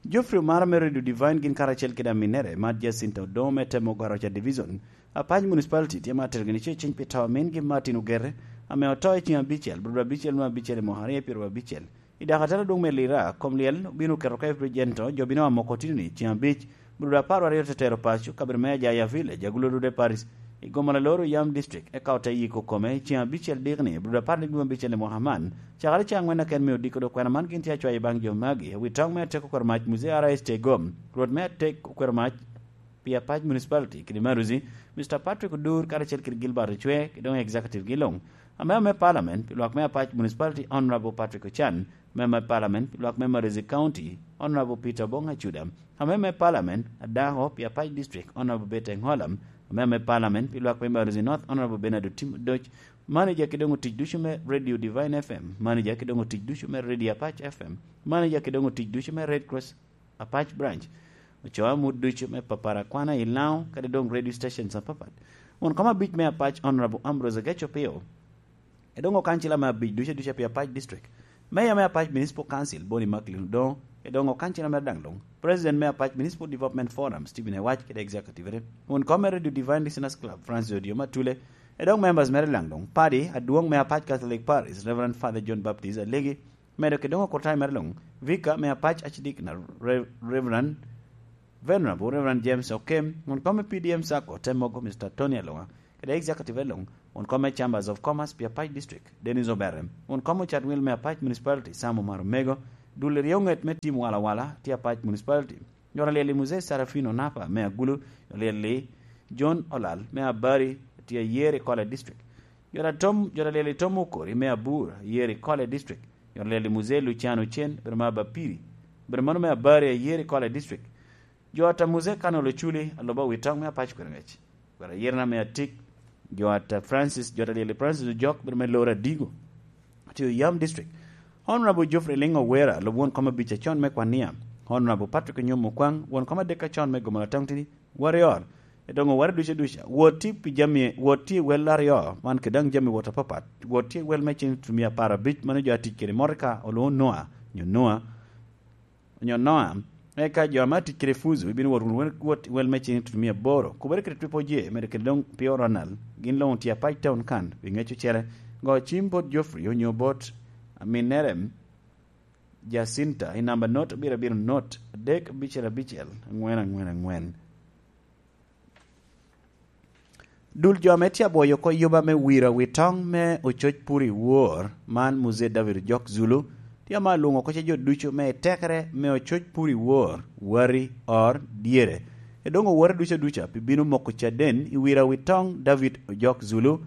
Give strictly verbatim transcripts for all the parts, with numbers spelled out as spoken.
Geoffrey Omara me Radio Divine gin karacel kede aminere, Mad Jacinta Odongo me Temo Garoca Division, Apac Municipality tye ma tero gini ceciny pi to a mingi Martin Ogere, ame oto i ceng abicel, brudo abicel me abicel i mwaka aryo pyeraryo abicel. I dakatara dwong me Lira, kom lyel obino oketo ka i Brijento, jo bino amoko tino ni ceng abic, brudo apar aryo te tero paco, kabedo me Ajaya Village, Agulu Dude Paris, i Gomala Loro Yam District, eka ote yiko kome i ceng abicel dikni, brudo apar dikni abicel i mwaka man, cakere ceng angwen aken me odiko dok kwena man gin tye acwayo baŋ jo magi, wi toŋ me ateko kwero mac Muzee R S Tegom, Rwot me atek okwero mac, pi Apac Municipality kede Maruzi, Mister Patrick Odur karacel kede Gilbert Ocwe, kede doŋ executive gi luŋ. Amea me Parliament pi lwak me Apac Municipality, Honorable Patrick Ochan, amea me Parliament pi lwak me Maruzi County, Honorable Peter Obong Acuda, amea me Parliament adako pi Apac District, Honorable Bete Ngolam, amea me Parliament pi lwak me Maruzi North, Honorable Bernard Otim Odoc, manager kede doŋ otic ducu me Radio Divine F M, manager kede doŋ otic ducu me Radio Apac F M, manager kede doŋ otic ducu me Red Cross Apac Branch, ocoo amut ducu me papara kwana i Laŋo, kadi doŋ radio stations apapat. Won kom abic me Apac, Honorable Ambrose Ageco Pio, e doŋ okancila me abic ducu ducu pi Apac District. Meya me Apac Municipal Council, Boni Macklin Odongo, e doŋ okancila mere daŋ luŋ. President me Apac Municipal Development Forum, Stephen Ewac, kede executive-re. Won kom me Radio Divine Listeners Club, Francis Odio Matule, e doŋ members mere daŋ luŋ. Padi adwoŋ me Apac Catholic Parish, Reverend Father John Baptist Alegi, medo kede doŋ okurtayo mere luŋ, Vicar me Apac Archdeacon Rev-, Reverend, Venerable Reverend James Okem, won kom me P D M Sacco, te mogo Mister Tony Alonga, kede executive luŋ, won kom me Chambers of Commerce pi Apac District, Dennis Oberem, won kom ocat wil me Apac Municipality, Sam Omar Omego, dul ryeŋet me tim walawala, tye Apac Municipality, Jot alyel i Muzee Serafino Napa me Agulu, jot alyel i John Olal me Abari, tye ayer i Kole District. Jot atom, jot alyel i Tom Okori me Abur, ayer i Kole District. Jot alyel i Muzee Luciano Cen, bedo me Abapiri, bedo mano me Abari, ayer i Kole District. Jot a Muzee Kano Luculi, aloba wi toŋ me Apac Kwerŋec. Kwero ayerna me atik, jot a Francis, jot alyel i Francis Ojok, bedo me Loro Adigo, tye Oyam District. Honorable Geoffrey Lingo Wera, lub won kom abic acon me Kwania. Honorable Patrick Onyomo Okwaŋ, won kom adek acon me Gomala Town City, Warrior. Edoŋo ware duca duca. Wot tye pi jami, wot tye i wel aryo, man kede daŋ jami wot apapat. Wot tye i wel me cen tutumia apar abic, mano jo atic kede motoka, olwoŋo Noah, nyo Noah, onyo Noa, eka jo ame atic kede Fuzu ibino wot wunu wot i wel me cen tutumia aboro, kubere kede Triple J, medo kede doŋ Pio Ronald, gin luŋ tye Apac Town kan, pi ŋec ocele, go cim bot Geoffrey onyo bot aminere Jacinta i namba not abiro abiro not adek abicel abicel aŋwen aŋwen aŋwen. Dul jo ame tye abwoyo oko yuba me wira wi toŋ me ococ pur i wor, man Muzee David Ojok Zulu, tye ame alwoŋo oko ce jo ducu me tekere me ococ pur i wor, wari, or, dyere. Edoŋ owote duca duca pi bino moko caden i wira wi toŋ David Ojok Zulu.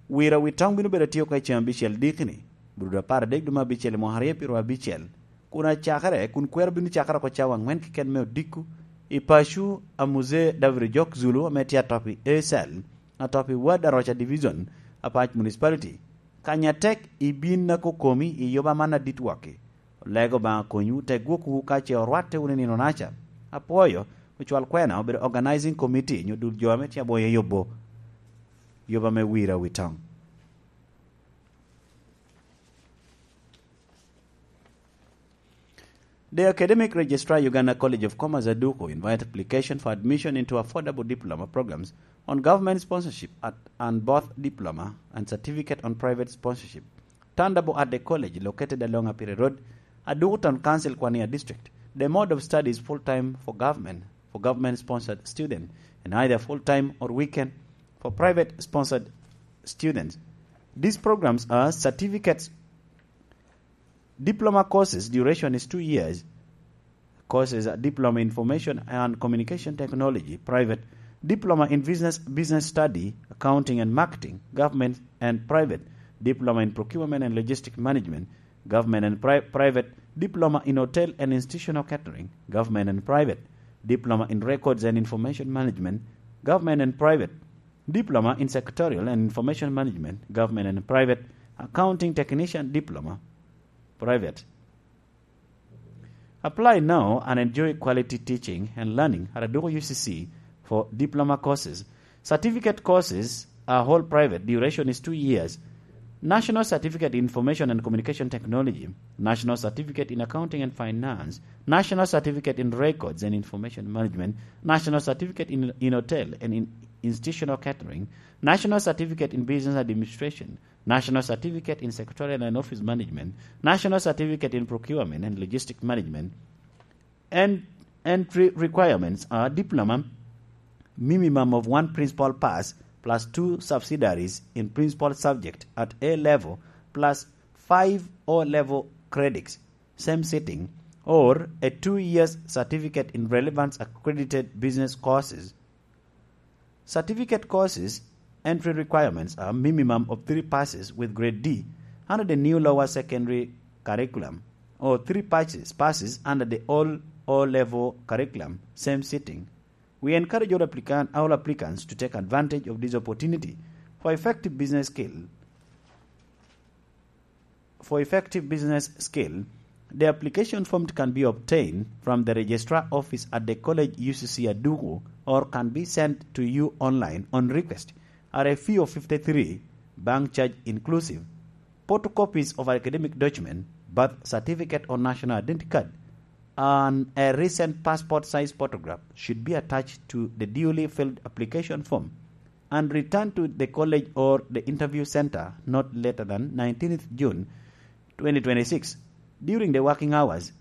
Wira wi toŋ bino bedo atye oko i ceng abicel dikni, brudo apar adek dwe me abicel i mwaka aryo pyeraryo abicel. Kun acakere, kun kwero bino cakere oko cawa aŋwen keken me odiko, i paco a Muzee David Ojok Zulu ame tye atop i Acel, atop i Ward Aroca Division, Apac Municipality. Kanya tek ibin akokomi i yoba man adit waki. Olego Obaŋa konywu, te gwokwu ka ce orwatte wunu i nino naca. Apwoyo, ocwal kwena obedo Organizing Committee nyo dul jo ame tye aboyo i yobo, yoba me wira wi toŋ. The Academic Registrar, Uganda College of Commerce, Aduku, invite application for admission into affordable diploma programs on government sponsorship at, and both diploma and certificate on private sponsorship. Turnable at the college located along Apire Road, Aduku Town Council, Kwania District. The mode of study is full-time for government, for government-sponsored student, and either full-time or weekend for private-sponsored students. These programs are certificates, diploma courses, duration is two years. Courses are Diploma in Information and Communication Technology, private, Diploma in Business, Business Study, Accounting and Marketing, government and private, Diploma in Procurement and Logistic Management, government and pri-, private, Diploma in Hotel and Institutional Catering, government and private, Diploma in Records and Information Management, government and private, Diploma in Secretarial and Information Management, government and private, Accounting Technician Diploma, private. Apply now and enjoy quality teaching and learning at Aduku U C C for diploma courses. Certificate courses are all private, duration is two years. National Certificate in Information and Communication Technology, National Certificate in Accounting and Finance, National Certificate in Records and Information Management, National Certificate in, in Hotel and in Institutional Catering, National Certificate in Business Administration, National Certificate in Secretarial and Office Management, National Certificate in Procurement and Logistic Management, and entry requirements are diploma, minimum of one principal pass plus two subsidiaries in principal subject at A level plus five O level credits, same sitting, or a two years certificate in relevant accredited business courses. Certificate courses entry requirements are minimum of three passes with grade D under the new lower secondary curriculum or three passes, passes under the all O level curriculum, same sitting. We encourage all applicant, all applicants to take advantage of this opportunity for effective business skill, for effective business skill. The application form can be obtained from the registrar office at the college U C C Aduku or can be sent to you online on request at a fee of fifty-three, bank charge inclusive. Photocopies of academic document, birth certificate or national identity card, and a recent passport size photograph should be attached to the duly filled application form and returned to the college or the interview center not later than nineteenth June twenty twenty-six during the working hours.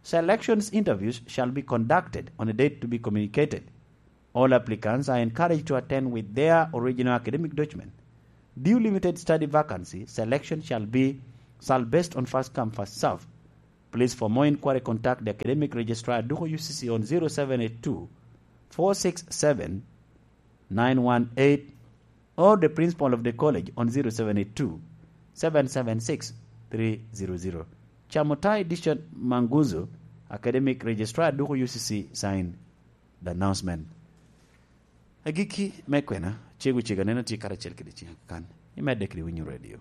Selections interviews shall be conducted on a date to be communicated. All applicants are encouraged to attend with their original academic document. Due limited study vacancy, selection shall be, shall based on first come, first serve. Please, for more inquiry, contact the academic registrar Aduko U C C on zero seven eight two, four six seven, nine one eight or the principal of the college on zero seven eight two, seven seven six, three zero zero. Chamutai Dishon Manguzo, academic registrar Aduko U C C, sign the announcement. Agikki me kwena, cego cego aneno tye karacel kede ciŋa kan. Imedde kede winyo radio.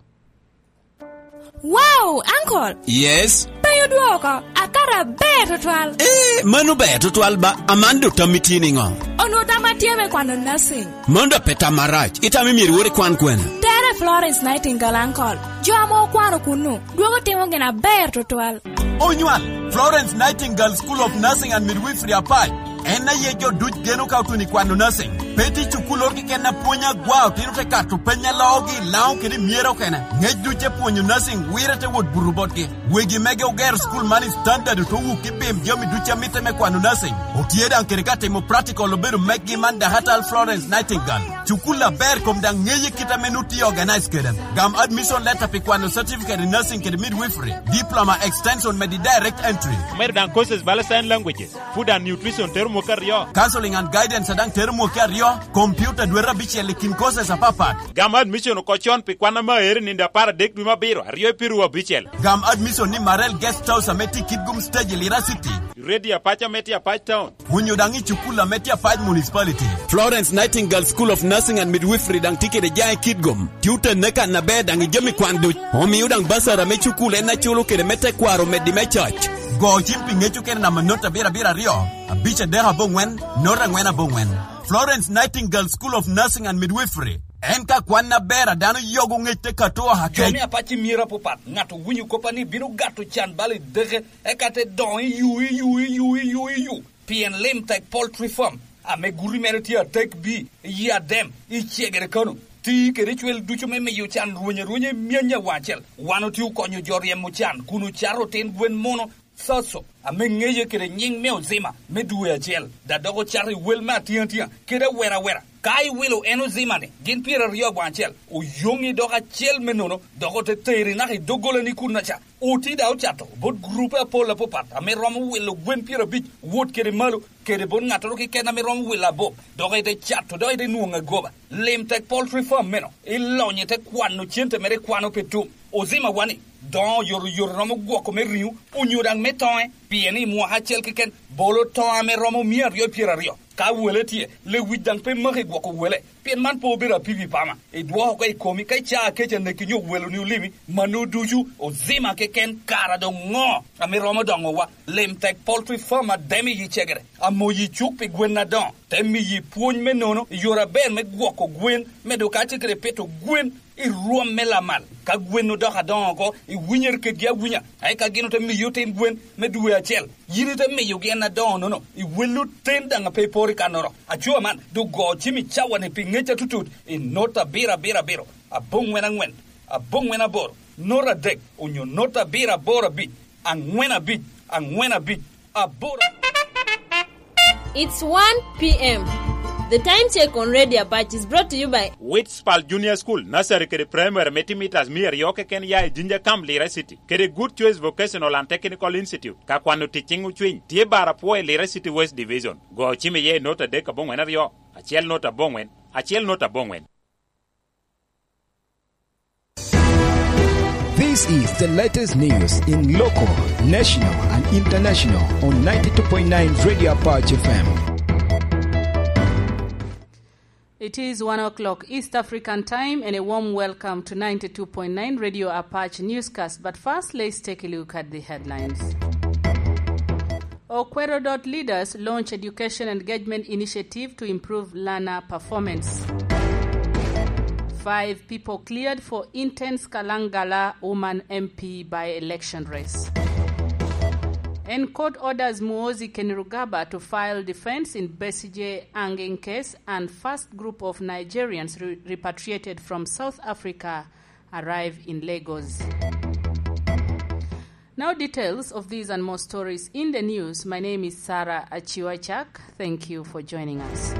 Wow, uncle! Yes? Pe odwoko, akato aber tutwal. Eh, mano ber tutwal ba, Amanda, otammi tye niŋo? Onwo tam atye me kwano nursing. Mano da pe tam marac, itamo myero iwor ikwan kwene? Tere Florence Nightingale, uncle. Jo ame okwano kunnu, dwogo timo gin aber tutwal. Onywal, Florence Nightingale School of Nursing and Midwifery Apac. En aye jo duc geno ka otuno i kwano nursing. Pe tye cukul oro keken a pwonyo agwa, otino te kato peny a loogi i Laŋo kede i Myero kene. Ngec duc te pwonyo nursing wire te wot buto botgi. Wegi mege ogero cukul man i standard oto wuk i bim jami duc a mitte me kwano nursing. Otye daŋ kede ka timo practical obedo meggi man Dahatal Florence Nightingale. Cukul aber kom daŋ ŋeye kit ame nu tye organize kede. Gam admission letter pi kwano certificate in nursing kede midwifery, diploma extension medi direct entry. Omedo daŋ courses bala sign languages, food and nutrition tero mwaka aryo. Counseling and guidance daŋ tero mwaka aryo, computer dwete abicel i kin courses apapat. Gam admission oko con pi kwan ame aere nino apar adek dwe me abiro, aryo i piru abicel. Gam admission ni Marel Guest House ame tye i Kitgum Stage i Lira City. Radio Apac ame tye Apac Town. Onyo daŋ i cukul ame tye Apac Municipality. Florence Nightingale School of Nursing and Midwifery daŋ tye kede jaŋ i Kitgum. Tye otenne kan aber daŋ i jami kwan duc. Omio daŋ basara me cukul en aculo kede me tekwaro meddi me cac. Go cim pi ŋec okene namba not abiro abiro aryo, abic adek aboŋwen, not angwen aboŋwen. Florence Nightingale School of Nursing and Midwifery. En ka kwan aber a dano yogo ŋec te kato oha kec. Jo me Apac i myero apapat, ŋat owinyo kop a ni bino gato can bal i deke, eka te doŋo i yu, i yu, i yu, i yu, i yu. Pien Lim Tek Poultry Farm, ame guti mere tye atek bi, i Adem, i Cegere Kano, ti kede cwel ducu me miyo can rweny arwenya i myany awaŋ acel. Wan otye okonyo jo ryemo can kun ocato otin gwen muno, Soso, ame ŋeye kede nyiŋ me Ozima me dwe acel, da dok ocato i wel me atiŋatia kede awera awera. Ka iwilo en Ozima-ni gin pyeraryo aboŋo acel, oyoŋi dok acel me nono, dok ote teri naka i doggolani kunnaca. Oti daŋ ocato bot gurupe apol apapat ame romo wilo gwen pyerabic wot kede malo, kede bot ŋattoro keken ame romo wilo abop, dok ite cato, dok ite nwoŋo agoba. Lim Tek Poultry Farm meno, ilonyo ite kwano cente mere ikwano pe tum. Ozima wani, doŋo oyotoyot romo gwoko me riŋo, onyo daŋ me toŋe, pien i mwaka acel keken, bolo toŋo ame romo mia aryo pyeraryo. Ka wele tye, lewic daŋ pe maki gwoko wele, pien man pe obedo apipi pama. Idwoko oko i komi, ka icaa kec aneki nyo weloni olimi, mano ducu, Ozima keken, kara doŋ ŋo ame romo doŋowa? Lim Tek Poultry Farm Ademi i Cegere, amoyi cuk pi gwen adoŋo, te miyi pwony me nono i yore aber me gwoko gwen, medo kacel kede pito gwen I rwom me lamal, ka gwen odoko adoŋo oko, iwinyere kedgi awinya, ae ka gin ote miyi otin gwen me dwe acel, yin ite miyogi en adoŋo-nono, iwelli oten daŋ ape iporo i kannoro. Aco aman, doŋ go cim i cawa-ni pi ŋec atutut i not abiro abiro abiro, aboŋwen aŋwen, aboŋwen aboro, not adek, onyo not abiro aboro abic, aŋwen abic, aŋwen abic, aboro. It's one p.m. The time check on Radio Apache is brought to you by Witspal Junior School, Nursery kede Primary me timitas mia aryo keken ya i Jinja Camp, Lira City, kede Good Choice Vocational and Technical Institute, ka kwano tic ciŋ ocwiny, tye bar apwo i Lira City West Division. Go cim iye i not adek aboŋwen aryo, acel not aboŋwen, acel not aboŋwen. This is the latest news in local, national, and international on ninety-two point nine Radio Apache F M. It is one o'clock East African time, and a warm welcome to ninety-two point nine Radio Apache newscast. But first, let's take a look at the headlines. Okwero dot leaders launch education engagement initiative to improve learner performance. Five people cleared for intense Kalangala woman M P by-election race. And court orders Muhoozi Kainerugaba to file defense in Besigye hanging case, and first group of Nigerians re-, repatriated from South Africa arrive in Lagos. Now, details of these and more stories in the news. My name is Sarah Achiwachak. Thank you for joining us.